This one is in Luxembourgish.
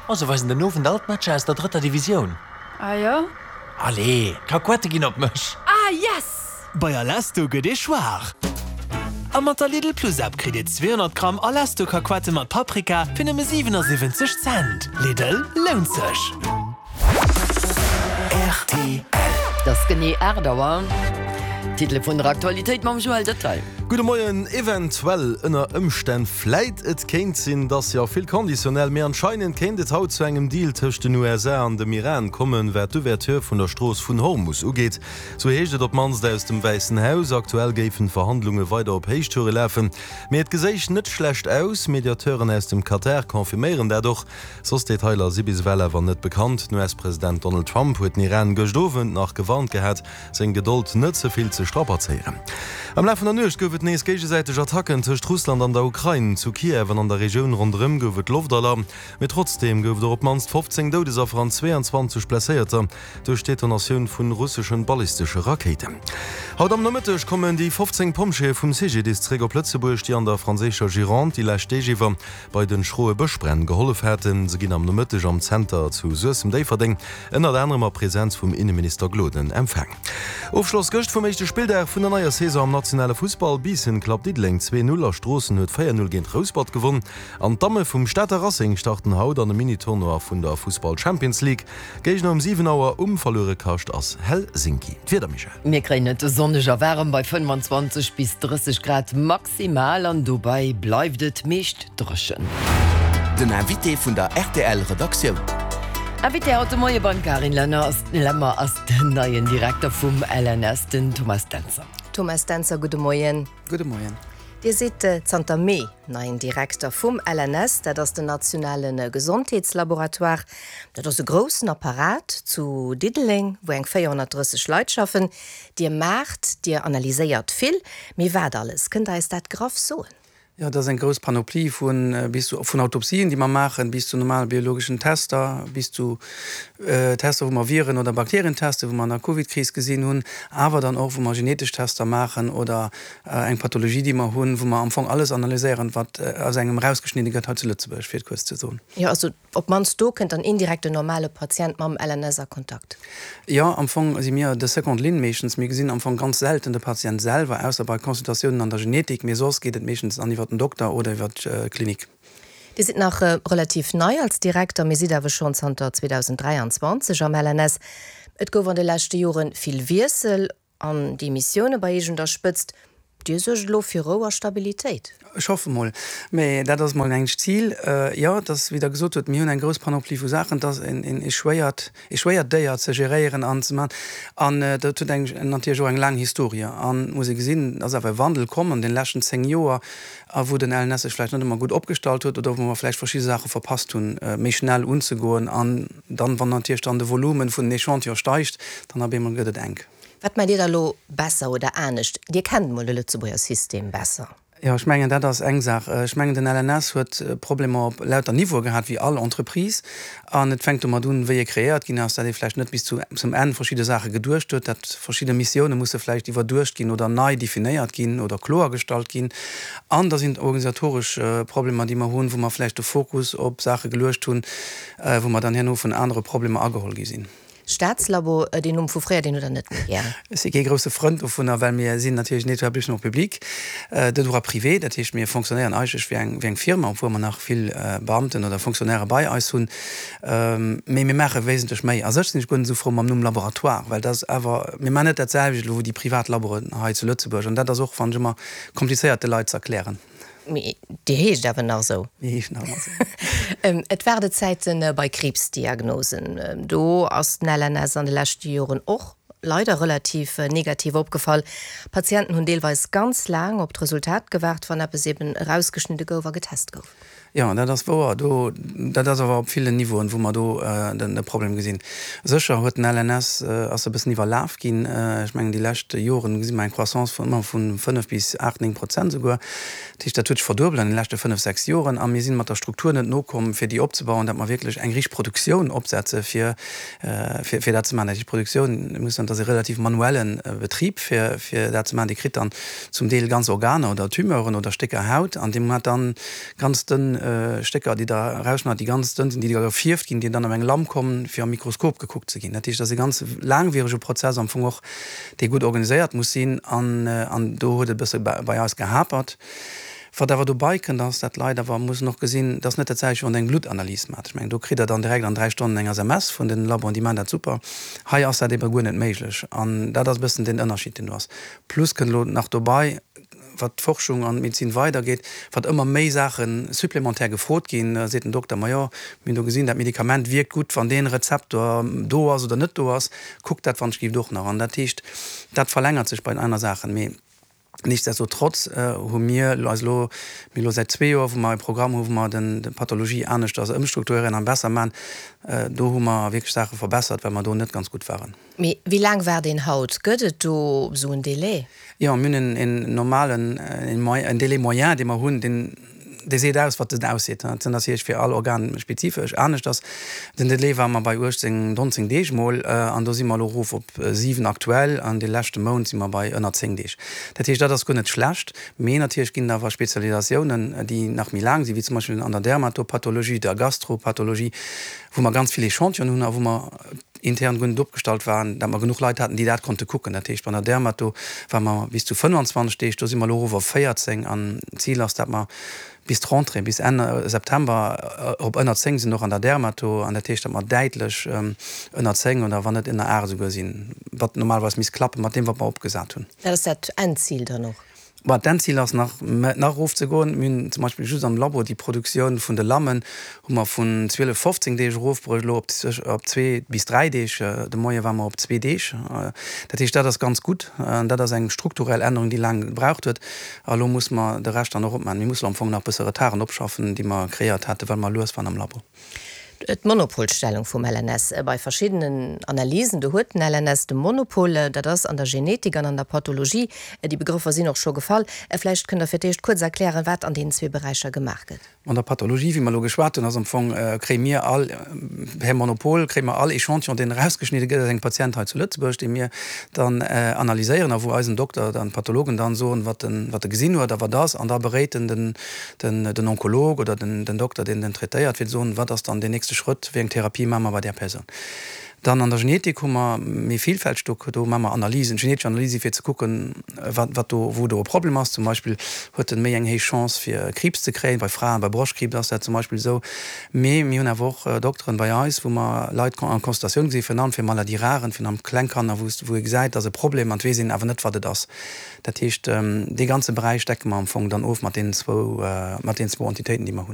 Oh, se weisen den Owend all d'Matcher aus der drëtter Divisioun. Ah jo? Allez, d'Kakuette ginn op mech! Ah yes! Bei Alesto gëtt ee schwaach! A mat der Lidl Plus App kritt Dir 200 Gramm Alesto Kakuette mat Paprika fir nëmme 77 Cent. Lidl, lount sech! Rtl. Et ass genee 8 Auer. D'Titele vun der Aktualitéit mam Joël Detail. Gudde Moien. Eventuell, ënner Ëmstänn, vläit, et kéint sinn, dass, jo, vill Conditionnel, mee anscheinend kéint et haut zu engem Deal tëscht den USA an dem Iran kommen, wat d'Ouverture vun der Strooss vun Hormus ugeet. Sou heescht et op d'mannst aus dem Wäissen Haus. Aktuell géifen d'Verhandlunge weider op Héichtoure lafen, mee et geséich net schlecht aus. Mediateuren aus dem Katar confirméieren dat och. Soss Detailer si bis ewell awer net bekannt. Den US-President Donald Trump huet den Iran gëscht Owend nach gewarnt gehat, seng Gedold net ze vill ze strapazéieren. Am Laf vun der Nuecht gouf et nees géigesäiteg Attacken tëscht Russland an der Ukrain. Zu Kiew an an der Regioun ronderëm gouf et Loftalarm, mee trotzdeem gouf et och op d'mannst 15 Doudesaffer an 22 Blesséierter duerch d'Detonatioun vun russeschen ballistesche Rakéiten. Haut am Nomëtteg kommen déi 15 Pompjeeë vum CGDIS zeréck op Lëtzebuerg, déi an der franséischer Gironde déi lescht Deeg iwwer bei den schroe Bëschbränn gehollef haten. Se ginn am Nomëtteg am Zenter zu Suessem-Déifferdeng ënnert anerem a Präsenz vum Inneminister Gloden empfaang. Ofschloss gëscht vum éischte Spilldag vun der neier Saison am nationale Fussball. Biissen klappt Diddeleng 2, 0 a Stroossen huet 4, 0 géint Rouspert gewonn. An d'Damme vum Stater Racing starten haut an e Mini-Tournoi vun der Fussball Champions League. Géigner um 7 Auer um Verluerekascht ass Helsinki. D'Wieder, Michèle? Mir kréien et sonneg a waarem bei 25 bis 30 Grad maximal an dobäi bleift et meescht dréchen. Den Invité vun der rtl Redaktioun. Invité haut de Moie beim Karin Lenner ass Lemmer ass den neien Direkter vum LNS, den Thomas Dentzer. Thomas Dentzer, gudde Moien. Gudde Moien. Dir sidd zanter Mee neien Direkter vum LNS, dat ass den nationale Gesondheetslaboratoire. Dat ass e groussen Apparat zu Diddeleng, wou eng 430 Leit schaffen. Dir maacht, Dir analyséiert vill, mee wat alles? Kënnt Der eis dat graff soen? Jo, dat ass eng grouss Panoplie vu bis zu vun Autopsien, déi mer maachen, bis zu normale biologeschen Tester, bis zu Tester, wou mer Viren oder Bakterien testen, wou mer an der Covid-Kris gesinn hunn, awer dann och, wou mer genetesch Tester maachen oder eng Pathologie, déi mer hunn, wou mer am Fong alles analyséieren, wat aus engem erausgeschnidde gëtt hei zu Lëtzebuerg, fir et kuerz ze soen. Jo, also op d'mannst do kënnt dann indirekt den normale Patient mam LNS a Kontakt. Jo, am Fong si mir de seconde ligne meeschtens. Mir gesinn am Fong ganz selten de Patient selwer, ausser bei Consultatiounen an der Genetik, mee soss geet et meeschtens dann iwwer den Dokter oder iwwer d'Klinik. Dir sidd nach relativ nei als Direkter, mee sidd awer schonn zanter 2023 am LNS. Et gouf an de leschte Jore vill Wiessel an Demissioune bei Iech un der Spëtzt. Dir suergt elo fir Rou a Stabilitéit? Ech hoffe mol. Mee dat ass mol eng Zil. Jo, et ass, wéi Der gesot hutt, mir hunn eng grouss Panoplie vu Saachen. Et ass e schwéiert, e schwéiert Déier ze geréieren an ze maachen. An dat huet eng, natierlech och eng laang Historie. An et muss ee gesinn, et ass awer e Wandel komm an deene leschten 10 Joer, a wou den LNS sech vläicht net ëmmer gutt opgestallt huet oder wou mer vläicht verschidde Saache verpasst hunn, méi schnell unzegoen. An dann, wann natierlech dann de Volumen vun den Echantillone steigt, dann op eemol gëtt et enk. Wat maacht Dir da elo besser oder anescht? Dir kennt mol de Lëtzebuerger System besser. Jo, ech mengen, dat ass eng Saach. Ech mengen, den LNS huet Problemer op lauter Niveaue gehat, wéi all Entreprise. An et fänkt domat un, wéi e kreéiert ginn ass, dat ee vläicht net bis zum Enn verschidde Saache geduecht huet, dat verschidde Missioune musse vläicht iwwerduecht ginn oder nei definéiert ginn oder kloergestallt ginn. An da sinn et organisatoresch Problemer, déi mer hunn, wou mer vläicht de Fokus op Saache geluecht hunn, wou mer dann herno vun anere Problemer ageholl gi sinn. Staatslabo, deen Numm vu fréier, deen hutt Der net méi gär. Ech si kee grousse Frënd dovunner, well mir sinn natierlech en Établissement public de droit privé. Dat heescht, mir fonctionnéieren eigentlech wéi eng, wéi eng Firma, obwuel mer nach vill Beamten oder Fonctionnairë bei eis hunn. Mee mir maache wesentlech méi. A sech sinn ech guer net esou frou mam Numm Laboratoire, well dat ass awer, mir maachen net dat selwecht elo wéi déi privat Laboren hei zu Lëtzebuerg. An dat ass och, fannen ech, ëmmer komplizéiert de Leit ze erklären. Mee Dir heescht awer nach esou. Mir heeschen nach ëmmer esou. Et Waardezäite bei Kriibsdiagnosen. Do ass den LNS an de leschte Joren och leider relativ negativ opgefall. Patienten hunn deelweis ganz laang op d'Resultat gewaart, wann eppes eben erausgeschnidde gouf a getest gouf. Jo, dat ass wouer. Do, dat ass awer op villen Niveauen, wou mer do de Problem gesinn. Sécher huet den LNS, ass e bëssen iwwerlaf ginn. Ech mengen, déi lescht Joren gesi mer eng Croissance vun ëmmer vu 5 bis 8, 9 Prozent esouguer. Dat heescht, dat huet sech verduebelt an de leschte 5, 6 Joren. A mir si mat der Struktur net nokomm, fir déi opzebauen, datt mer wierklech eng richteg Produktioun opsetze fir, fir dat ze maachen. Dat heescht, d'Produktioun, muss soen, dat ass e relativ manuelle Betrib, fir, fir dat ze maachen. Dir kritt dann zum Deel ganz Organer oder Tumeuren oder Stécker Haut an dee hat dann ganz dënn. Stécker, déi Der erausschneit, déi ganz dënn sinn, déi da gefierft ginn, déi dann op eng Lam kommen, fir am Mikroskop gekuckt ze ginn. Dat heescht, dat ass e ganz laangwierege Prozess am Fong och, dee gutt organiséiert muss sinn. An do huet et e bësse bei eis gehapert. Wat awer dobei kënnt, ass, dat d'Leit awer mussen och gesinn, et ass net dat selwecht, wéi wann Der eng Bluttanalyse maacht. Ech mengen, do kritt Der dann direkt an 3 Stonnen eng SMS vun den Laboen, déi maachen dat super. Hei ass dat ebe guer net méiglech. An dat ass e bëssen den Ënnerschied, deen do ass. Plus kënnt elo nach dobei, wat d'Forschung an d'Medezin weidergeet, wat ëmmer méi Saache supplémentaire gefrot ginn. Da seet den Dokter, Majo, mir hunn do gesinn, dat Medikament wierkt gutt, wann dee Rezeptor do ass oder net do ass. Kuckt dat wann ech gift och nach. An dat heescht, dat verlängert sech bei den aner Saachen. Mee nichtsdestotrotz hu mir eis elo, mir elo säit zwee Joer, wou mer e Programm hu wou mer d'Pathologie aneschters ëmstrukturéieren an besser maachen, do hu mer wierklech Saache verbessert, well mer do net ganz gutt waren. Mee wéi laang waart een haut? Gëtt et do esou en Délai? Jo, mir hunn en normalen, en Délai moyen, dee mer hunn, deen, dee seet aus, wat en ausseet. Dat ass natierlech fir all Organ spezifesch aneschters. Den Délai ware mer bei 18, 19 Deeg mol, an do si mer elo erof op 7 aktuell, an de leschte Mount si mer bei ënner 10 Deeg. Dat heescht, dat ass guer net schlecht. Mee natierlech ginn et awer Spezialisatiounen, déi nach méi laang sinn, wéi zum Beispill an der Dermatopathologie, der Gastropathologie, wou mer ganz vill Echantillonen hunn a wou mer intern guer net opgestallt waren, dat mer genuch Leit haten, déi dat konnte kucken. Dat heescht, bei der Dermato ware mer bis zu 25 Deeg, do si mer elo erof op 14 an d'Zil ass, dat mer bis d'Rentrée, bis Enn September op ënner 10 sinn, och an der Dermato. An dat heescht, dat mer däitlech ënner 10 oder wann net ënner 8 esouguer sinn, wat normalerweis misst klappen, mat deem wat mer opgesat hunn. Dat ass dat Endzil dann och? Bon, d'Endzil ass nach, nach erof ze goen. Mir hunn zum Beispill just am Labo déi Produktioun vun de Lammen hu mer vun 12, 15 Deeg erofbruecht elo op op zwee bis dräi Deeg. De Moie ware mer op zwee Deeg. Dat heescht, dat ass ganz gutt. An dat ass eng strukturell Ännerung, déi laang gebraucht huet. A elo muss mer de Rescht dann och opmaachen. Mir musse am Fong nach e bësse Retarden opschaffen, déi mer kreéiert haten, well mer lues waren am Labo. D'Monopolstellung vum LNS bei verschiddenen Analysen, do huet den LNS de Monopol, dat ass an der Genetik an an der Pathologie. Déi Begrëffer sinn och scho gefall. Vläicht kënnt Der fir d'éischt kuerz erklären, wat an deenen zwee Beräicher gemaach gëtt. An der Pathologie, wéi mer elo geschwat hunn, ass am Fong, kréie mir all, per Monopol kréie mer all Echantillon, deen erausgeschnidde gëtt aus engem Patient hei zu Lëtzebuerg, dee mir dann analyséieren a wou eisen Dokter, dann d'Pathologen dann soen, wat en, wat e gesinn huet a wat ass, an da beréit en den, den Onkolog oder den Dokter, deen den traitéiert, fir ze soen, wat ass dann deen nächste Schrëtt, wéi eng Therapie maache mer bei där Persoun. Dann an der Genetik hu mer méi villfälteg, do do maache mer Analysen, genetesch Analysen, fir ze kucken, wat wat do, wou do e Problem ass. Zum Beispill huet en méi eng héich Chance fir Kriibs ze kréien, bei Fraen, bei Broschtkriibs ass dat zum Beispill esou. Mee mir hunn awer och Dokteren bei eis, wou mer Leit en Consultatioun gesinn, virun allem fir Maladies rares, virun allem kleng Kanner, wou wou ee gesäit, dass e Problem an et weess een awer net, wat et ass. Dat heescht, dee ganze Beräich decke mer am Fong dann of mat deenen zwou, mat deenen zwou Entitéiten, déi mer hunn.